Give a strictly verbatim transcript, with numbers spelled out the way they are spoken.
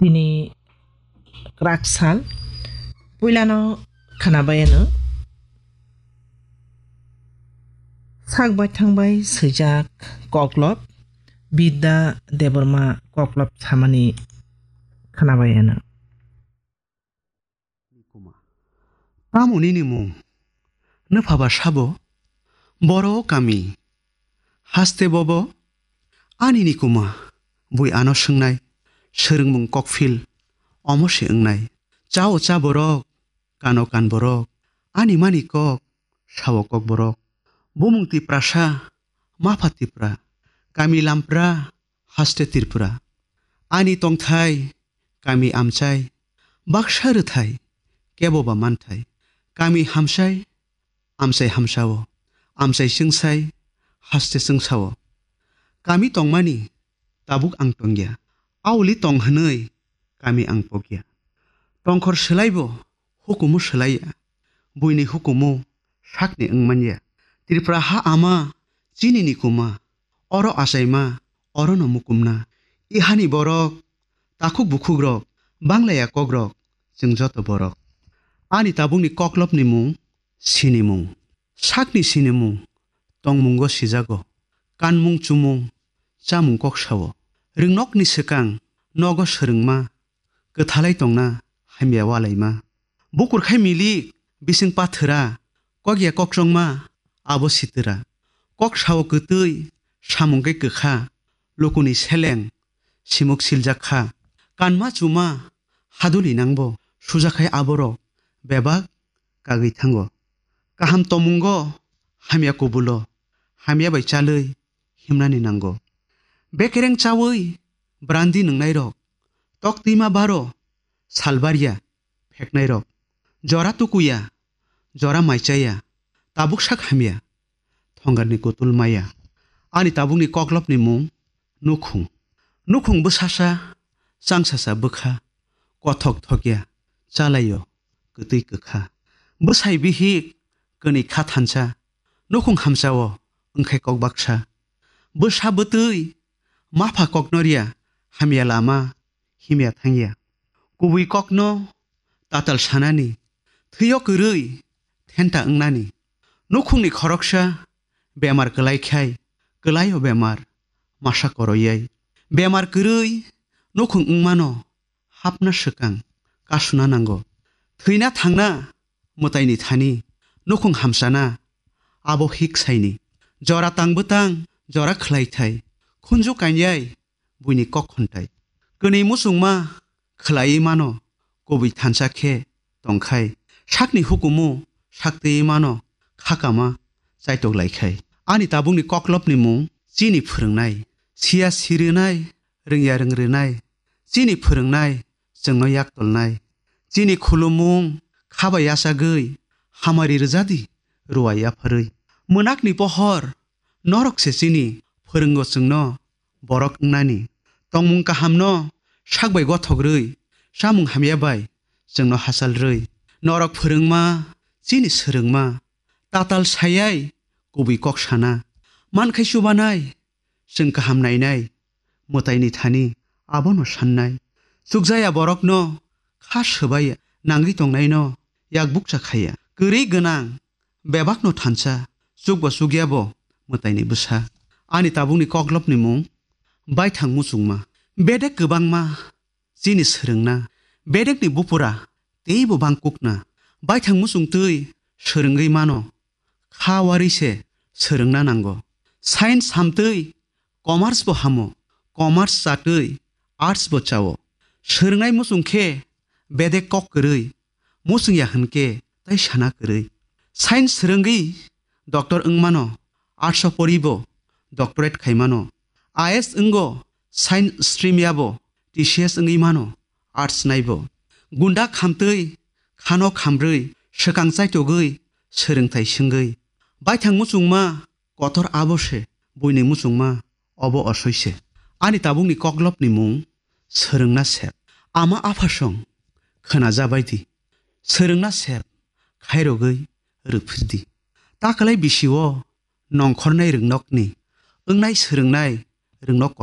Tini kwrak sal. Puilano khwnabai ano sak baithang bai swijak koklop, Bidya Debbarma koklop samani khwnabai ano. Nikuma. Tamo nini mung? Nwpha ba sabo? Boro kami. Haste bobo? Ani nikuma. Bui ano swngnai. Swrwngmung kokphil. Omo se wngnai. Chao cha borok. Kano kan borok. Ani mani kok. Sao kok borok. Bumung Tiprasa. Mapha Tipra. Kami Lampra. Haste Tripura. Ani tongthai, kami amchai, baksa rwthai, kebo ba manthai. Kami hamsai, amchai hamsao, amchai chwngsai, haste chwngsao. Kami tongmani, tabuk ang tongya. Auli tong hwnwi, kami ang pokya. Tongkhor swlaibo, hukumu swlaiya. Buini hukumu, sakni wngmanya. Tripura ha ama, chini nikuma, oro achaima, orono mukumna. I hani borok, takhuk bukhukrok, banglaya kokrok, chwng joto borok. Ani tabukni koklopni mung, sinimung. Sakni sinimung, tongmungo sijago. Kanmung chumung, chamung kok sao. Rwngnokni swkang, nogo swrwngma, kwthalai tongna, hamya walaima. Bukur khai milik, bising pathwra, kokya kokchongma, abo sitwra. Kok sao kwtwi, samung khe kwkha, lukuni seleng, simuk siljak kha. Kanma chuma, haduli nangbo, sujakhai aborok, bebak, kagwi thango. Kaham tomungo, hamya kubulo, hamya bai chalwi, himnani nango. Bekereng chawi, brandi nwngnairok, tok twima baro, salbarya, pheknairok. Jora tukuya, jora maichaya, tabuk sak hamya, thongarni kutul maya. Ani tabukni koklopni mung, nukhung. Nukhung bwsasa, changsasa bwkha, kothok thokya, chalaio, kwtwi kwkha. Bwsai bihik, kwnwi kha thansa, nukhung hamsao, wngkhai kok baksa. Bwsa bwtwi, mapha koknorya, hamya lama, himya thangya. Kubui kokno tatal sanani, thwio kwrwi thenta wngnani. Nukhungni khoroksa bemar kwlai khai, kwlaio bemar masa koroyai. Bemar kwrwi nukhung wngmano hapna swkang kasuna nango. Thwina thangna mwtaini thani, nukhung hamsana abo hik saini. Jora tang bwtang, jora khwlai thai, khunju kanyai, buini kok khontai. Kwnwi muchungma khwlaiwi mano, kubui thansa khe tongkhai. Sakni hukumu saktwiwi mano, khakama chaitok laikhai. Ani tabukni koklopni mung chini phwrwngnai. Siya sirinai, rwngya rwngrinai. Chini phwrwngnai, chwngno yak tolnai. Chini khulumung, kha bai yachagwi, hamari rwjadi, ruwa yapharwi. Mwnakni pohor, norok se chini phwrwngo chwngno borok wngnani. Tongmung kahamno sak bai gothok rwi, chamung hamya bai chwngno hachal rwi. Norok phwrwngma, chini swrwngma, tatal sayai kubui kok sana. Mankhai chubanai, chwng kaham nainai, mwtaini thani abono sannai. Chukjaya borokno kha swbai nangwi tongnaino yak bukcha khaiya. Kwrwi gwnang bebakno thansa, chukbo chukyabo mwtaini bwsa. Ani tabukni koklopni mung baithang muchungma. Bedek kwbangma chini swrwngna, bedekni bupura teibo bangkukna. Baithang muchungtwi swrwngwi mano, kha warwi se swrwngna nango. Science hamtwi commerce bo hamo, commerce chatwi arts bo chao. Swrwngnai muchung khe bedek kok kwrwi, muchung ya hwn khe tai sana kwrwi. Science swrwngwi doctor wngmano, arts o poribo doctorate khaimano. I A S wngo science stream yabo T C S wngwi mano, arts naibo. Gunda khamtwi, khano khamrwi, swkang chaitogwi, swrwngthai swngwi. Baithang muchungma kotor abo se, buini muchungma obo osoi se. Ani tabukni koklopni mung swrwngna sep. Ama aphasong khwnajabai di. Swrwngna sep khairogwi rwphir di. Takwlai bisio nongkhornai rwngnokni wngnai swrwngnai rwngnok